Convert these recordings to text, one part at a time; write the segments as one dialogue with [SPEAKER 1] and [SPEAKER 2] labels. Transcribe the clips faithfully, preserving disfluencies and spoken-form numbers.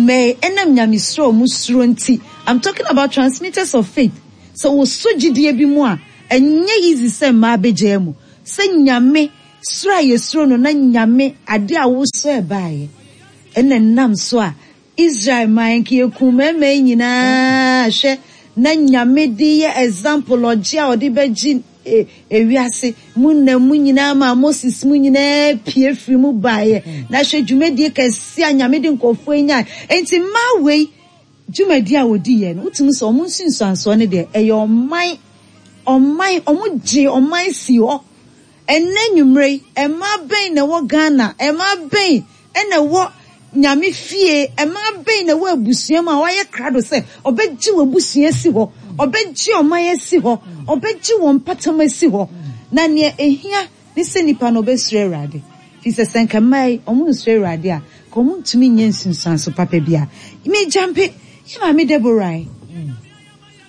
[SPEAKER 1] Mmaa yi, ɛnam Nyamesuro a wɔn suro nti, I'm talking about transmitters of faith, sɛ wɔsɔ gyidie bi mu a, ɛnyɛ easy sɛ mmaa bɛgyaa mu. Sɛ Nyame suro a yɛsuro no na Nyame ade a wosɔ ɛbaeɛ, ɛna ɛnam so a Israel man nka yɛkum mmarima yi nyinaa. Hwɛ na Nyame de yɛ example, ɔgye a ɔde bɛgye e, ewiase mu nam mu nyinaa ma Moses mu nyinaa pie firi mu baeɛ. Na hwɛ dwumadie kɛse a Nyame de nkɔfoɔ yi nyae. Enti mmaa wei dwumadie a wɔdi yɛ no, wotumi sɛ ɔmo nsunsuansoɔ no deɛ, ɛyɛ ɔman ɔman ɔmo gye ɔman si hɔ. Ɛnɛ nwummerɛ yi, mmaa bɛn na ɛwɔ Ghana, mmaa bɛn ɛna ɛwɔ Nyame fie, mmaa bɛn na ɛwɔ abusua mu a wɔayɛ krado sɛ ɔbɛgye wɔ abusua si hɔ, ɔbɛgye ɔman asi hɔ, ɔbɛgye wɔn mpatam asi hɔ? Na nea ehia ne sɛ nipa no ɔbɛsuro Awurade, fi sɛ sɛ nka mmaa yi ɔmo nsuro Awurade a, ka ɔmo ntumi nyɛ nsunsuanso papa bi a megyampe yɛ maame Deborah yi.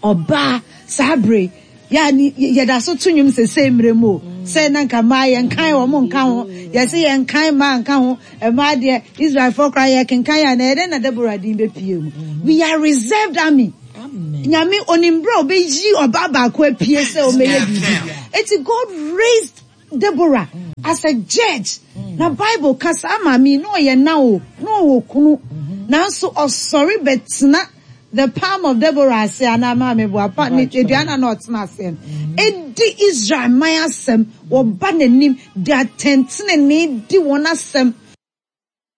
[SPEAKER 1] Ɔbaa saa bere yɛ yɛda so to nnwom sese mmerɛ mu o, sɛ na nka mmaa yɛnkan wɔn nka ho, yɛsɛ yɛnkan mmaa nka ho. Mmaa deɛ, Israelfoɔ koraa yɛkenkan a, na yɛdɛ na Deborah din bɛpie mu. We are reserved army. Nyame onim berɛ a ɔbɛyi ɔbaa baako apue sɛ ɔmɛyɛ biribi. Eti God raised Deborah as a judge. Na Bible ka saa maame yi na ɔyɛ na o na ɔwɔ kunu, nanso ɔsɔre bɛtena the palm of Deborah ase anaa maame boa pa ne aduane na ɔtena ase no, edi Israel man asɛm. Wɔba n'anim de atɛntenenee di wɔn asɛm.